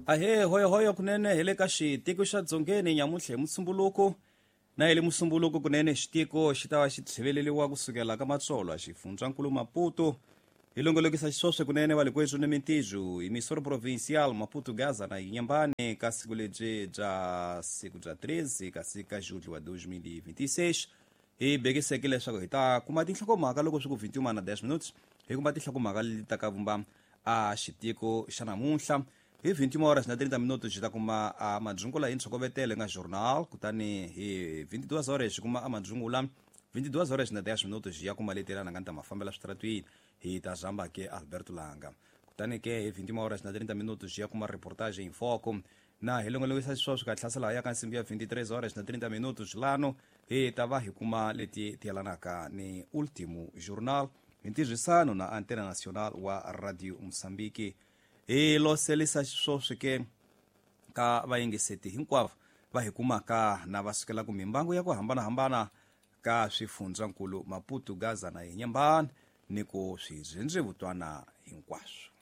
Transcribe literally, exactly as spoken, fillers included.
Ahee, hoyohoyo kunene hi le ka xitiko xa Dzongeni nyamuntlha hi Musumbuluko. Na hi le Musumbuluko kunene xitiko xi ta va xi tlheveleriwa kusukela ka Matsolo xifundzankulu Maputo. Hi longolokisa xiswoswe kunene va le kwethu ni mintijo hi Misoro Provincial Maputo Gaza na Inhambane ka siku lebyi bya siku bya treze kasi ka julho wa dois mil e vinte e seis. Hi bekiseke leswaku hi ta kuma tinhlokomhaka loko swi ku vinte e uma na dez minutos, hi kuma tinhlokomhaka leti ta ka vumba a xitiko xa namuntlha. Hi vinte e uma horas na trinta minutos hi ta kuma a madzungula hi ntshokovetelo nga journal, kutani hi vinte e duas horas hi kuma a madzungula vinte e duas horas na dez minutos hi ya kuma leti lana nga ni ta mafambela switaratwini hi ta zamba ke Alberto Langa. Kutani ke hi vinte e uma horas na trinta minutos hi ya kuma reportage em foco. Na hi longolokisa xisweswo ka hlasela ya ka nsimbi ya vinte e três horas na trinta minutos lano hi ta va hi kuma leti ti yelanaka ni Último Jornal hi ntirhisano na Antena Nacional wa Radio Moçambique. Hi loselisa xisweswo ke ka vayingiseti hinkwavo va hi kumaka na va sukelaka mimbangu ya ku hambanahambana ka swifundzankulu Maputo, Gaza na Inhambane ni ku swidzhendzevutwana hinkwaswo.